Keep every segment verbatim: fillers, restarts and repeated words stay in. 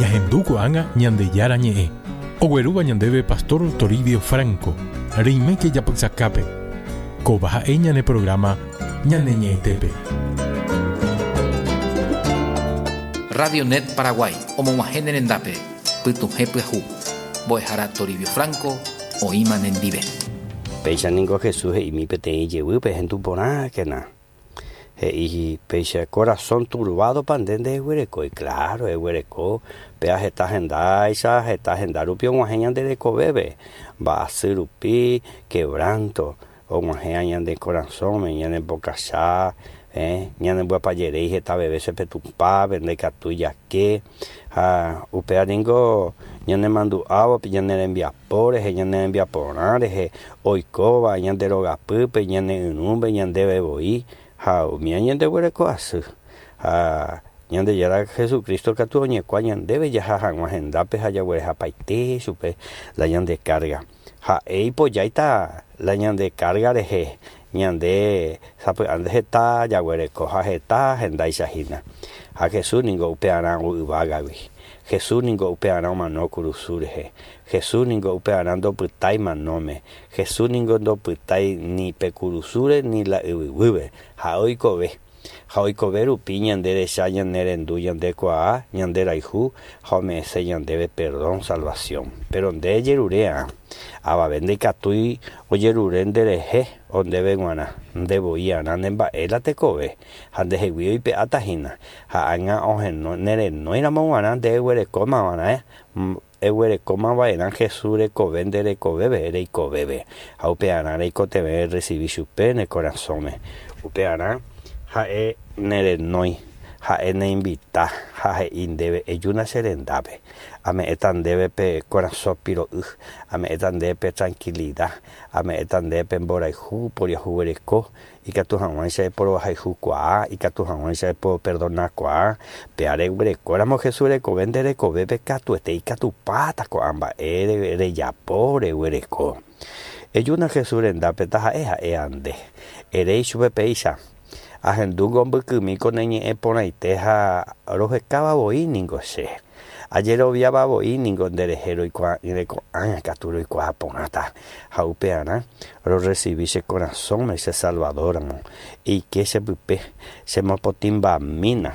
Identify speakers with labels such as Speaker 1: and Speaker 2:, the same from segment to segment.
Speaker 1: Ñahendu ko'ág̃a Ñandejára ñe'ẽ. Oguerúva ñandéve Pastor Toribio Franco. Reiméke japysakápe. Kóva ha'e ñane programa Ñane Ñe'ẽtépe.
Speaker 2: Radio Net Paraguay, omog̃uahẽ rendápe, pytuhẽ pyahu. Mbo'ehára Toribio Franco, oĩma nendive.
Speaker 3: Péicha ningo Jesús he'imi peteĩ jevýpe hendu porãkena. He'i péicha corazón turbado pa nde ndeguerekói, claro, eguereko, péa heta hendáicha, heta henda rupi og̃uahẽ ñande rekovépe, mba'asy rupi, quebranto, og̃uahẽ ñande korasõme, ñanembokacha, eh, ñanemboapajeréi heta veces pe Tupãpe, ndaikatúi jake, ha upéva ningo ñanemandu'ávo ñane rembiapo rehe, ñane rembiaporã rehe, oikóva ñande rogapýpe, ñane yrũme, ñandéve voi, ha umi ñandeguereko asy. Ha Ñandejára Jesucristo katu oñekua ñandéve jaha hag̃ua hendápe ha jaguerehapaite chupe la ñande carga. Ha'e ipojáita la ñande carga rehe, ñande sapy'ánte heta jaguereko ha heta hendáicha hína. Ha Jesús ningo upearã yvágagui. Jesús ningo upearã omano kurusu rehe. Jesús ningo upearã ndopytái manóme. Jesús ningo ndopytái ni pe kurusúre ni la yvyguýpe. Ha oikove. Ha oikove rupi ñande recha ñane rendu ñandekuaa, ñande rayhu, ha ome'ẽse ñandéve perdón, salvación. Pero nde jerure'ã, avave ndaikatúi ojerure nderehe ondéve g̃uarã, ndevoi'arã nemba'e la tekove, ha ndehegui oipe'áta hína. Ha ág̃a oheno nerenóiramo g̃uarã nde eguerekómava'erã, eguerekómava'erã Jesús rekove nde rekovépe, reikovépe. Ha upearã reikotevẽ recibi chupe ne korasõme. Upearã ha'e nerenói, ha'e neinvita, ha he'i ndéve ejúna che rendápe. Ame'ẽta ndéve pe korasõ piro'y, ame'ẽta ndéve pe tranquilidad, ame'ẽta ndéve pe mborayhu, poriahuvereko, ikatu hag̃uáicha eporohayhukuaa, ikatu hag̃uáicha epoperdonakuaa, péa reguerekóramo Jesús rekove nde rekovépe katuete ikatupáta ko'ã mba'e rejapo reguereko. Ejúna Jesús rendápe taha'e ha'e ande. Eréi chupe péicha. Ahendúngo mbykymi ko ne ñe'ẽ porãite ha rohekáva voi ningo che. Ajeroviáva voi ningo nderehe roikuaa'ỹre ko'ág̃a katu roikuaa porãta. Ha upearã rorecibi che korasõme che Salvadoramo. Eike chepype, chemopotĩmbamína.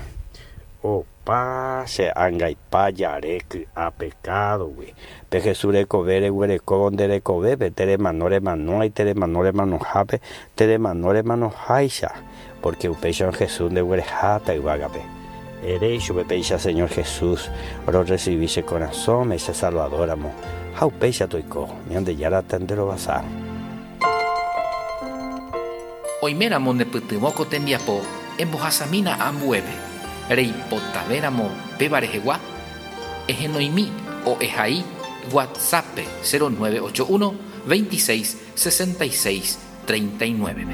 Speaker 3: Opa che angaipa jare ky'a pekádogui. Pe Jesús rekove reguerekóvo nde rekovépe, teremano remanói, teremano remanohápe, teremano remanoháicha. Porque upéicha Jesús ndeguereháta yvágape. Eréi chupe péicha Señor Jesús, rorecibi che korasõme che Salvadoramo. Ha upéicha toiko, Ñandejára tanderovasa.
Speaker 2: Oiméramo nepytyvõ ko tembiapo embohasamína ambuépe. Reipotavéramo péva rehegua, ehenoimi o ehai WhatsApp cero nueve ocho uno veintiséis sesenta y seis treinta y nueve.